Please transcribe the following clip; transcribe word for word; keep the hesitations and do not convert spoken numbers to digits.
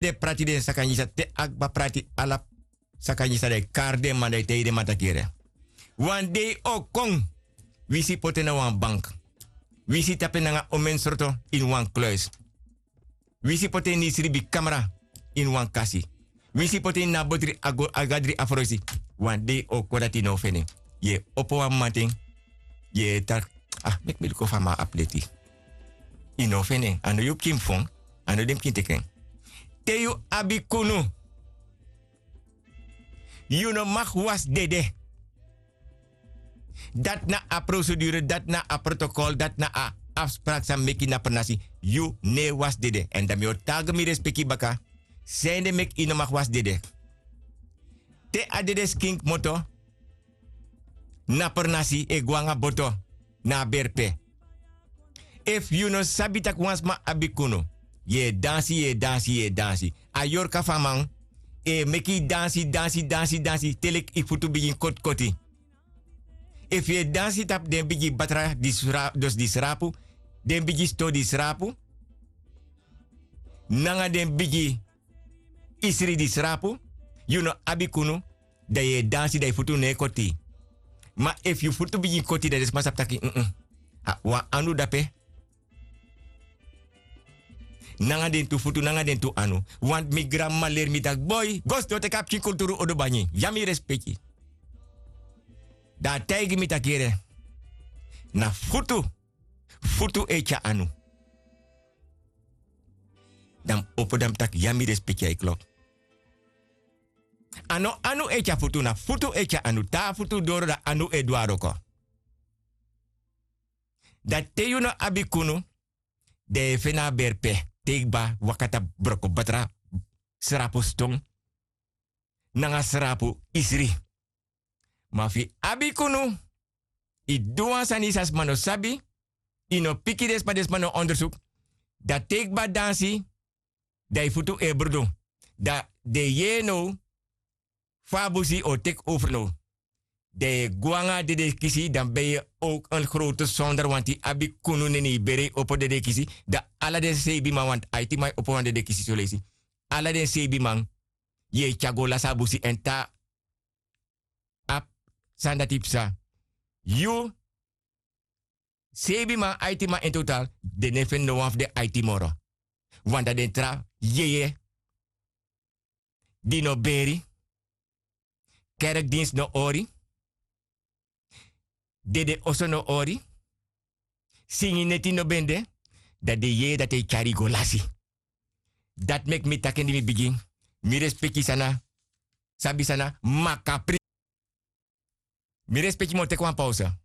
te prati den sakanyi san te a kba prati ala sakanyi san dan e kari den man dan e taigi den man taki yere. Wan dei o kon, winsi poti en na wan bank, winsi tapu en nanga omen sroto ini wan kluis, winsi poti en ini sribi kamra ini wan kasi, winsi poti en ini a botri a gadri a froisi. Wan dei o kon dati yu no o feni en. Yu e opo wan mamanten, yu e taki, ah, meki mi luku fa a man abi leti. Yu no o feni en. A no yu pikin mus fon, a no den pikin teki en. Te yu abi kunu, yu no mag wasi dede. Dati na a prosedure, dati na a protokol, dati na a afspraki san meki na pernasi. Yu no e wasi dede. Èn dan mi o taigi mi respeki baka, sende meki yu no mag wasi dede. Te a dede skin kmoto, na pernasi e go nanga boto na a berpe. Efu yu no sabi tak' wan sma abi kunu, yu e dansi, yu e dansi, yu e dansi. A yorka fu a man e meki yu dansi, dansi, dansi, dansi te leki yu futu bigin kotikoti. Efu yu e dansi tapu den bigi batra di sra- dus di srapu, den bigi sto di srapu, nanga den bigi isri di srapu, yu no abi kunu, dan yu e dansi dan yu futu no e koti. Ma efu yu futu bigin koti dan den sma sabi taki, mm, a wan anu dape. Nanga den tu futu, nanga den tu anu. Want mi granmama leri mi taki boi, go sidon teki a pikin kulturu odo bangi. Ya mi respeki. Dan a taigi mi taki yere, na futu, futu e tyari anu. Dan mi opo dan mi taki ya mi respeki a e klok. A no anu e tyari futu, na futu e tyari anu. Te a futu doro dan anu e du a wroko. Dan te yu no abi kunu, dan yu e feni a berpe te yu kba waka tapu broko batra, srapu ston nanga srapu isri. Ma fu yu abi kunu, yu du wan sani san sma no sabi, yu no piki den sma, den sma no ondersuku, dan te yu kba dansi, dan yu futu e brudu. Dan den yeye now fa a busi o teki over now. Dan yu e go nanga a dede kisi, dan ben yu ook en grote sonder, want yu abi kunu neni yu bere yu opo dede kisi. Dan ala den seibi man, want aiti man e opo wan dede kisi soleisi. Ala den seibi man yu e tyari go lasi a busi èn te a abi sani dati psa, yu seibi man, aiti man in total, den no e feni no wan fu den aiti moro. Want dan den tra yeye di no beri, kerkdinsi no hori, dede oso no hori, singi neti no ben de, dan den yeye dati e tyari yu go lasi. Dati meki mi taki en di mi bigin, mi respeki san na, sabi san na makapri. Mi respeki, mi o teki wan pausa.